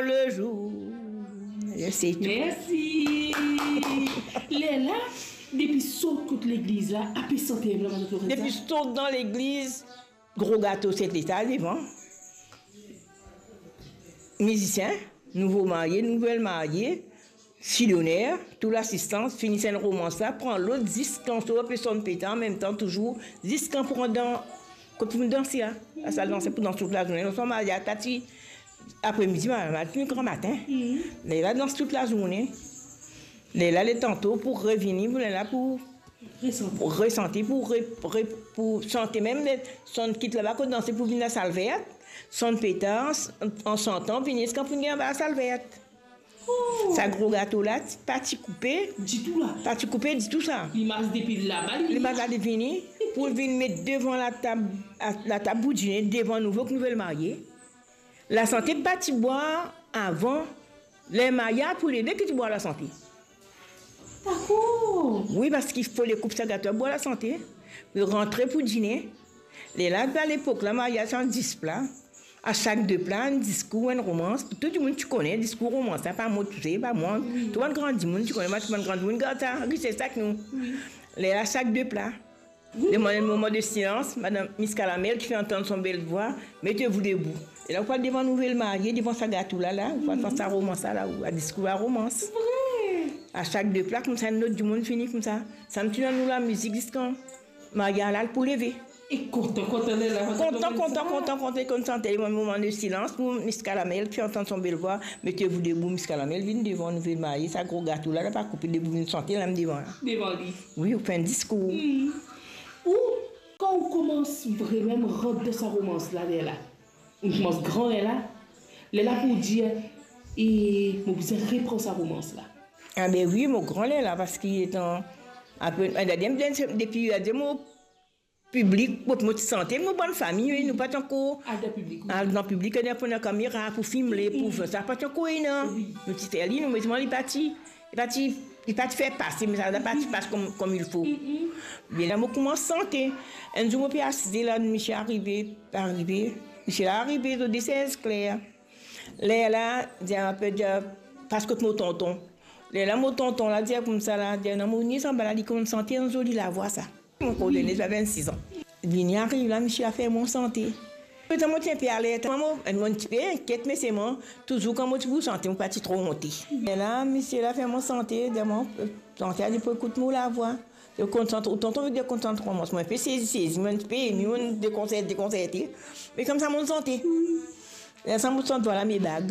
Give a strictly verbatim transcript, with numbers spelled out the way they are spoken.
Le jour. Se tou. Mersi. Lerla, depi sort kot legliz la, ape sante enn lor Lorenza? Depi sort dan legliz, gro gato set leta devan. Mizisien, nouvo marye, nouvel marye, fidoner, tou lasistans, fini enn romans la, pran lot, zis kan so pe sonn peta, anmemtan touzour, zis kan pou rant dan, kot pou danse la. Lasal danse pou dans tout lazourne. Lor sa marye, ta ti, apremidi, ma, ma, ti gran matin. Mhm. Lerla dans tout lazourne. Lerla, letan to pou revini, pou lerla pou Resanti. Pou resanti, pou re-, re-, pou sante mem, le, sonn kit laba kot danse pou vinn lasal vert, sonn peta, an, an santan, vinn ziska pou vinn anba lasal vert. Oh! Sa gro gato la, ti, pa ti koupe. Ditou la. Pa ti koupe ditou sa. Limaz depi laba, li. Limaz la, li vini, pou vinn met devan latab, a, latab pou dine, devan nouvo ek nouvel marye. Lasante pa ti bwar avan, ler marye pou leve ki ti bwar lasante. Dakor. Wi, parski fode koup sa gato, bwar lasante, rantre pou dine. Lerla, dan lepok la, marye ti ena dis pla. A sak de pla, enn diskour, enn romans. Tou dimoun ti kone diskour, romans la, pa mo tousel, pa mwa. Wi. Tou bann gran dimoun ti kone, bann gran dimoun gard sa, rises ek nou. Wi. Lerla, sak de pla. Wi. Demann enn moman de silans, madam Miss Calamel ki fer antann son bel vwa, mettez-vous debout. E la, ou pou al devan nouvel marye, devan sa gato la, la, ou pou al fer sa romans la, la, ou a diskour la romans. Vre. A sak de pla, koumsa, enn lot dimoun fini koumsa. Sa mem ti donn nou lamizik ziska marye la pou leve. E kontan, kontan, lerla, kontan, kontan, kontan, kontan, kontan, kontan, kontan, kontan, kontan, sante, moman de silans, pou Miss Calamel ki fer antann son bel vwa, mettez-vous debout, Miss Calamel vinn devan nouvel marye, sa gro gato la, la pa koupe, debout, vinn sante, la mem devan la. Devan li. Wi, ou fer enn diskour. Hmm. Ou, kan ou koumans vremem rant dan sa romans la, lerla, ou koumans gran lerla, lerla pou dir, e mo bizin repran sa romans la. Ah ben wi, mo gran lerla, parski letan, apre, a, depi, depi, a, de mo piblik, mo, mo ti sante, mo bann fami, wi, nou pa ti ankor al dan piblik, wi. Al dan piblik, al devan kamera pou filme, pou fer sa, pa ti ankor ena. Wi. Nou ti fer li, nou, me selman li pa ti, li pa ti, li pa ti fer pase, me sa, sa pa ti pas kom, kom il fo. Mm, mm. Be la, mo koumans sante. Enn zour, mo pe asize la, misie arive, arive. Misie la arive, zot de sez kler. Lerla, dir, pe dir, pas kot mo tonton. Lerla, mo tonton la dir koumsa la, dir, non, mo ni sanba la, li konn sante, enn zoli lavwa sa. Mo kordone, sa vinn-sis an. Vini ariv la, misie la fer mwa sante. Letan mo ti enpe aler, mo, mo ti pe inkiet, me selman, touzour kan mo ti pou sante, mo pa ti tro onte. Lerla, misie la fer mwa sante, dir mwa, sante, li pou ekout mo lavwa. Li konn sante, tonton, li konn sante koumsa. Mo inpe sezi, sezi, mo inpe emi, mo dekonserte, dekonserte. Me koumsa mo sante. Lerla mo sante, vwala me bag.